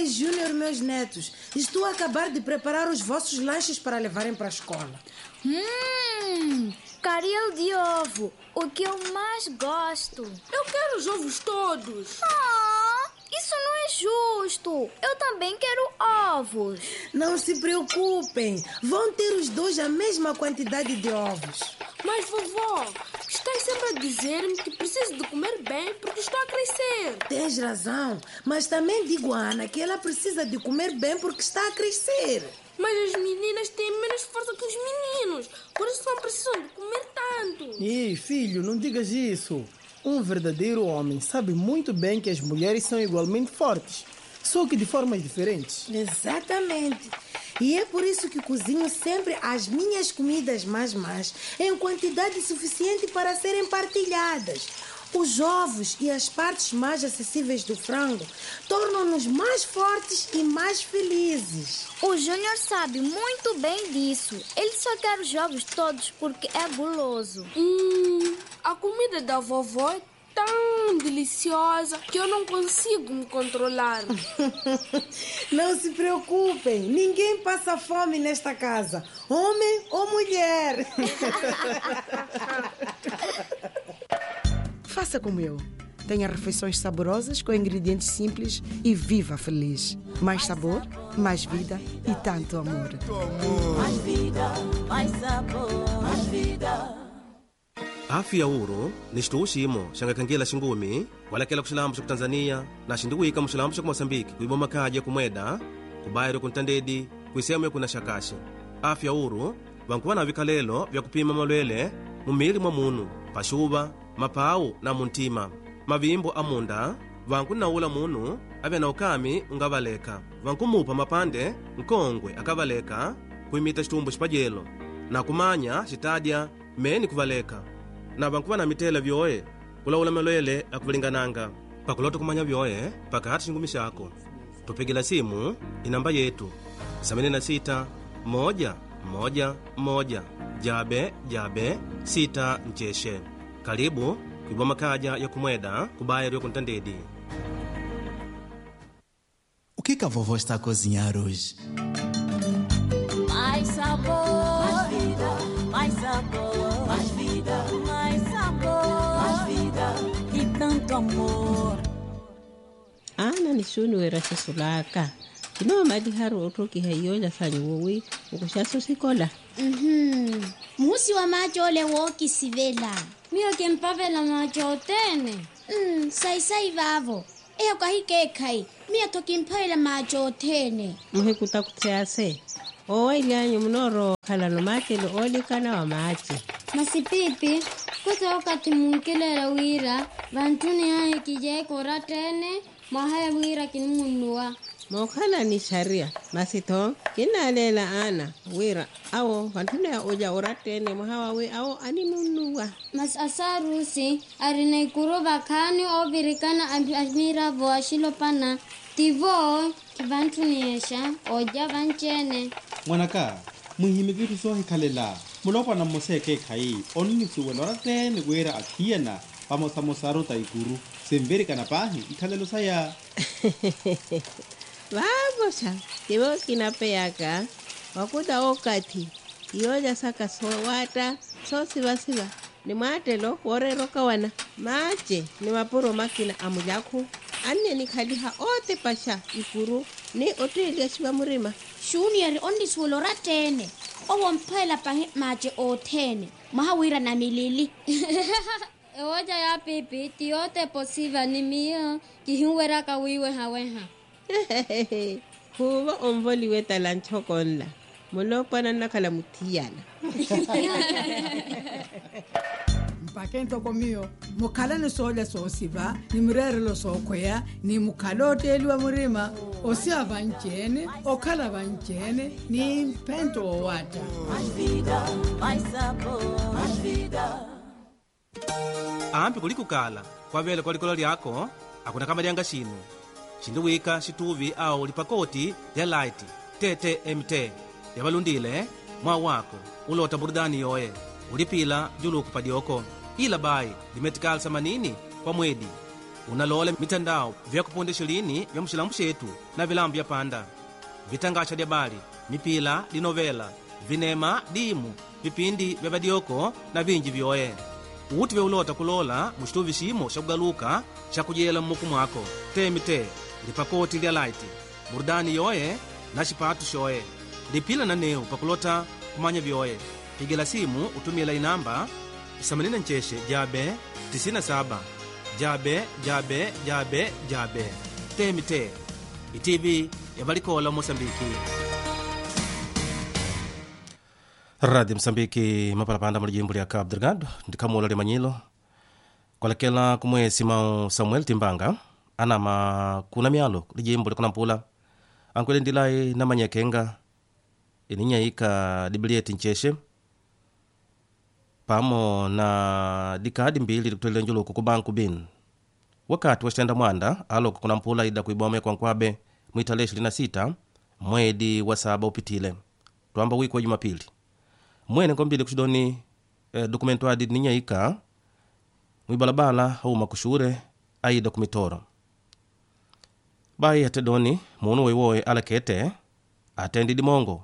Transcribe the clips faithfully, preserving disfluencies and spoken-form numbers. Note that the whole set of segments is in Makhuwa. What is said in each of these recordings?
Júnior, meus netos, estou a acabar de preparar os vossos lanches para levarem para a escola. Hum, caril de ovo, o que eu mais gosto. Eu quero os ovos todos. Ah, isso não é justo. Eu também quero ovos. Não se preocupem, vão ter os dois a mesma quantidade de ovos. Mas, vovó, estás sempre a dizer-me que preciso de comer bem porque estou a crescer. Tens razão, mas também digo a Ana que ela precisa de comer bem porque está a crescer. Mas as meninas têm menos força que os meninos, por isso não precisam de comer tanto. Ei, filho, não digas isso. Um verdadeiro homem sabe muito bem que as mulheres são igualmente fortes, só que de formas diferentes. Exatamente. E é por isso que cozinho sempre as minhas comidas mais, mais, em quantidade suficiente para serem partilhadas. Os ovos e as partes mais acessíveis do frango tornam-nos mais fortes e mais felizes. O Júnior sabe muito bem disso. Ele só quer os ovos todos porque é guloso. Hum, a comida da vovó é tão deliciosa que eu não consigo me controlar. Não se preocupem, ninguém passa fome nesta casa, homem ou mulher. Faça como eu. Tenha refeições saborosas com ingredientes simples e viva feliz. Mais sabor, mais vida e tanto amor. Mais vida, mais sabor, mais vida. Afya ya wuro ni xituuxi imo xangakhangela xingumi, walakela khuxilambu xa khutanzaniya na xinduwika muxilambu xa khumosambiki khwiva omakhaja khumweda, khubairwe khuntandedi khwisemu ya khuna xakaxi. Afya ya wuro vankhuva na vikhalelo vya khuphima malwele mumili mwa munu, paxuva, maphawu na muntima, mavimbo a munda, vankhu na wula munu avya na okaami ungavaleka, vankhu muupha mapande, nkhongwe akavaleka, khwimita xitumbu xipajelo na khumanya xitadya, meeni khuvaleka na vankhuva na mitteela vyoye khulawula malwele akhuvalingananga. Pakulotta khumanya vyoye pakhaatthi xingumi xaakhu, tupikila simu inampa yeettu, samini na sita moja moja moja jabe jabe sita ncexe. Kalipu khwiva omakhaja ya khumweda khubairwe khuntandedi. O que que a vovó está a cozinhar hoje? Mais sabor, mais vida, mais sabor, mais vida, mais sabor, mais vida e tanto amor. Ana ni xuuni wira xisulaaka. Kinoomaliharu otthokiha iyoola sanyu wowi, okuxaso sikola. Muhusi wa maaci ole wookisivela. Miyo kimpavela maaci othene. Sayi sayi vaavo. Eyo kahikeekhayi. Miyo-tho kimpavela maaci othene. Muhikutakuthi ase, oowaily'anyu munoorowa okhalano maacelo oolikana wa maaci. Masi piipi, khuta okathi munkileela wira vantthuni ahi kijeeka oratta-ene. Mwaha ya wira kinimunnuwa. Mookhala ni xariya, masi-tho kinnaaleela ana wira awo vantthuni ya olya oratta-ene mwaha wawi awo animunnuwa. Masi asaarusi arina ikuru vakhaani oovirikana a miravo axilopana. Tivo kivantthuniyexa olya vanci-ene. Mwanaka, mwihimiki itthu soohikhalela. Mulopwana mmosa ekeekhayi onnisuwela oratta-ene wira athiyana vamosamosaru ta ikuru sinvirikana paahi ikhalelo saya. Vaavoxa tivo kinapeyaka wakuta okathi iyoolya saka soowaatta soosivasiva ni mwaattelo wooreera okawana. Maace ni mapuro makina a mulakhu anne nikhaliha ootepaxa ikuru ni otteeliyaxiwa murima. Xuniyeri onnisuwela oratta-ene owo omphoyela pahi maace othene mwaha wira namilili. Ewoca ya pipi ti yootepa osiva ni miyo kihinweraka wiiwehaweha. Khuuvo onvoliwe tala ntxoko nla. Mulopwana nnakhala muthiyana. Mpakhe ntoko miyo mukhalani soolya soosiva ni mireerelo sookhweya ni mukhala otteeliwa murima osiva vanci-ene okhala vanci-ene ni mphento woowaatta. Ampi khulikukala khwaveela khwalikolo lyaakho. Akhunakamalyanga xinu xindiwika xittuuvi awo olipa kooti ya laiti tte tte emitte yavalunttile mwawaakho. Ulootta mburudani yooye olipiila juluukhu palyoko. Ila bayi limetikali sa manini khwa mweeli. Unaloola mitandao vya kuponte xilini vya muxilambu xeetu na vilambu vya panda, vitangaxa dya bali, mipila, dinovela, vinema, diimu, vipindi vya vadioko na vinji vyoye. Uti vya uloota kuloola muxituvi ximo xa kugaluka xa kujeela mmukumu ako, tmt, lipakooti lya laiti, murudani yoye na xipaatu xoye. Lipila nanewu pakulota kumanya vyoye. Pikela simu utumiyela inamba samanina ncexe jabe tisina saba jabe jabe jabe jabe. Tmt, itivi ya valikoola mosambiki. Radi msambiki mapalapanda mu lijimbu lya cabo delgado. Ndikhamuula limanyilo kwalekela kumweesi mau samuel timbanga anama kuna myalo lijimbu lya kunampula. Ankwele ndilai namanya ekenga ininya yika dibilieti ncexe pamo na dikaadi mbili dikutwelele njuluku ku banku bin. Wakati wa xitenda mwanda aloka kunampula ida kwiboma ekwankwabe mwittaleexi lina sita mweedi wa saba upitile twamba wiki wa jumapili. Mwene nkombili kuxidoni dukumentu adi ninya yika mwibalabala auma kuxuure aida kumitooro. Bayi atte doni muunu weiwowe alakete attendi dimongo.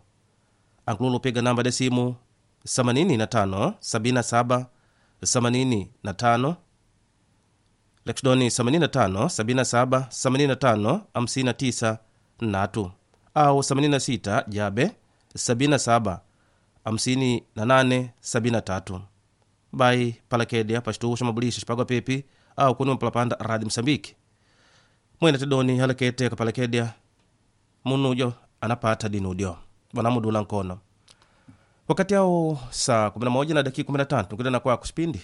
Ankuluula upega namba de simu samanini na tano sabini na saba samanini na tano lakixidoni samanini na tano sabini na saba samanini na tano amusini na tisa nnatu au samanini na sita jabe sabini na saba amusini na nane sabini na tatu. Bayi palakedya paxituhu xa mabulixa xipagwa pipi au kuniwa mpalapanda radi musambiki. Mwene tedoni halakete kapalakedya munudyo anapaatha dinudyo. Vanamuduula nkono wakati awo saa kumi na moja na dakika kumi na tatu nkilana kwaku xipindi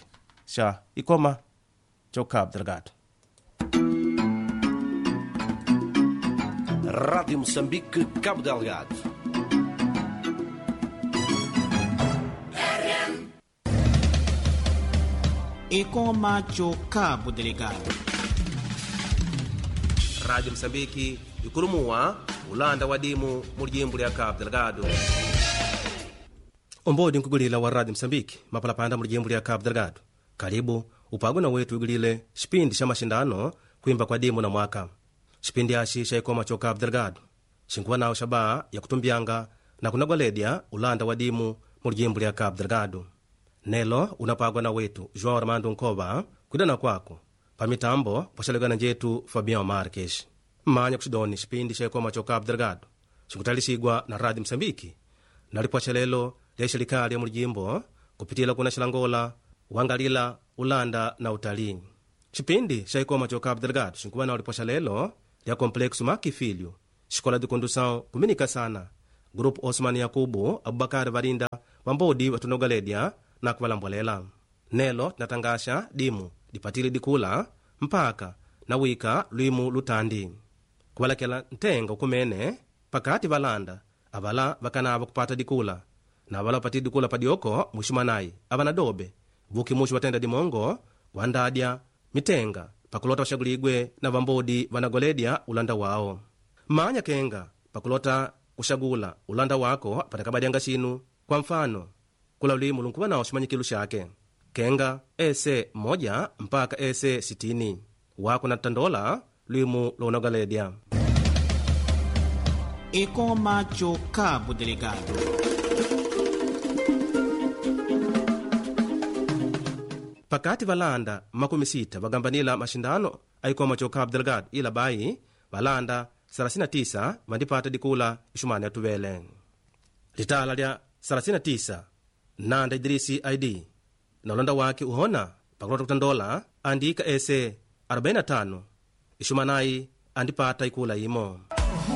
xa ikoma co cabo delgado. Radi musambiki cabo delgado. Ekoma co cabo delgado. Radi musambiki ikulumuwa ulanda wa dimu mu lijimbu lya cabo delgado. Ombodi nkugulila wa radi musambiki mapalapanda mu lijimbu lya cabo delgado. Kalibu upagwe na wetu wigulile xipindi xa maxindano kwimba kwa dimu na mwaka. Xipindi axi xa ekoma co cabo delgado xinkuva nawe xaba ya kutumbyanga na kunagoledya ulanda wa dimu mu lijimbu lya cabo delgado. Nelo unapagwa na wetu joão armando nkova kwidana kwaku. Pamitambo pwaxalekana njetu fabião marques. Manya kuxidoni xipindi xa ekoma co cabo delgado xinkutalisigwa na radi musambiki na lipwaxalelo lya ixelikali ya mu lijimbo kupitila kuna xilangola wangalila ulanda na utali. Xipindi xa ekoma co cabo delgado xinkuva nawe lipwaxalelo lya complexo maki filho xikola di condução kuminika sana grupu osman yakubu abubakari varinda vambodi vatunogaledya na kuvalambwalela. Nelo tinatangaxa dimu dipatili dikula mpaka na wika lwimu lutandi kuvalakela ntenga ukumene pakati valanda avala vakanava kupata dikula na avala vapatili dikula padioko mwixumanayi avana dobe vukimuxi vatenda dimongo wandadya mitenga pakulota vaxakuligwe na vambodi vanagoledya ulanda wawo. Manya kenga pakulota kuxakula ulanda wako apanakavadyanga xinu kwa mfano kula lulimu lunkuva nawo ximanyikilu xake kenga ese mmoja mpaka ese sitini. Wako nattandola lulimu lwa unagoledya. Ekoma co cabo delgado. Pakati valanda makumi sita vagambanila maxindano a ikoma co cabo delgado ila bayi valanda sarasina tisa vandipata dikula ixumani atuvele. Litala lya sarasina tisa nanda idirisi aidi na ulanda waki uhona pakulota kutandola andika ese arubaini na tano ixumanayi andipata ikula imo.